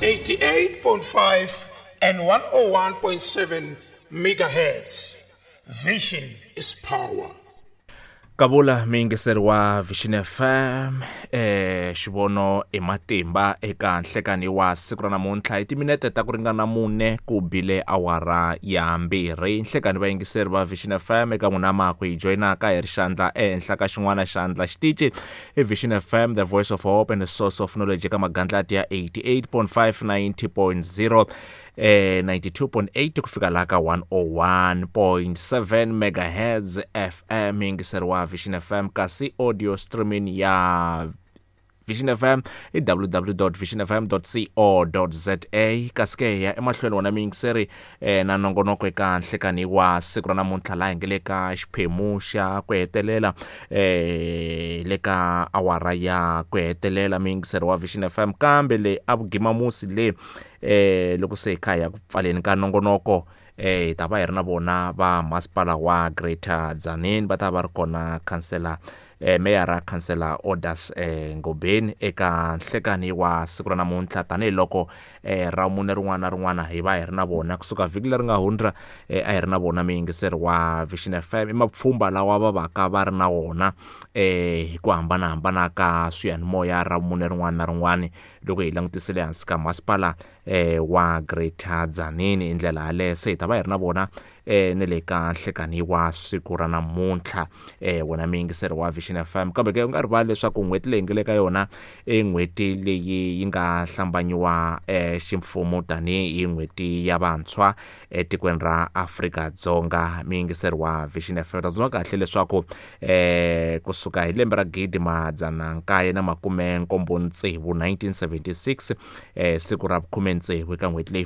88.5 and 101.7 megahertz. Vision is power. Kavula muyingiseri wa Vision FM, xivono i matimba eka nhlekani wa siku ra namuntlha hi timinete ta ku ringana 4 ku bile awara ya 2. Nhlekani vayingiseri va Vision FM eka n'wina ma ku hi joyinaka hi ri xandla ehenhla ka xin'wana xandla xitici i Vision FM, the voice of hope and the source of knowledge, eka magandlati ya 88.5, 90.0, 92.8 ku fika laha ka 101.7 megahertz FM, yingiseri wa Vision FM. Kasi audio streaming ya Vision FM i www.visionfm.co.za. Kasi ke ya emahlweni wona miyingiseri na nongonoko eka nhlekani wa siku ra namuntlha laha hi nge le ka xiphemu xa ku hetelela, le ka awara ya ku hetelela miyingiseri wa Vision FM. Kambe le a vugimamusi le, loko se hi kha hi ya ku pfaleni ka nongonoko, hi ta va hi ri na vona va masipala wa Greater Tzaneen, va ta va ri kona khansela, meyara khansela Odas Ngobeni eka nhlekani wa siku ra namuntlha, tanihiloko ra mune rin'wana na rin'wana hi va hi ri na vona kusuka vhiki leri nga hundza. A hi ri na vona muyingiseri wa Vision FM, i mapfhumba lawa va vaka va ri na wona hi ku hambanahambana ka swiyanimoya ra mune rin'wana na rin'wana loko hi langutisile hansi ka masipala wa Greater Tzaneen. Hi ndlela yaleyo se hi ta va hi ri na vona ne le ka nhlekani wa siku ra namuntlha, wena muyingiseri wa Vision FM. Kambe ke u nga rivali leswaku n'hweti leyi nge le ka yona i n'hweti leyi yi nga hlambanyiwa ximfumo tanihi n'hweti ya vantshwa etikweni ra Afrika-Dzonga. Muyingiseri wa Vision FM, ta tsundzuka kahle leswaku kusuka hi lembe ra 1976, 1976, siku ra 16 eka n'hweti leyi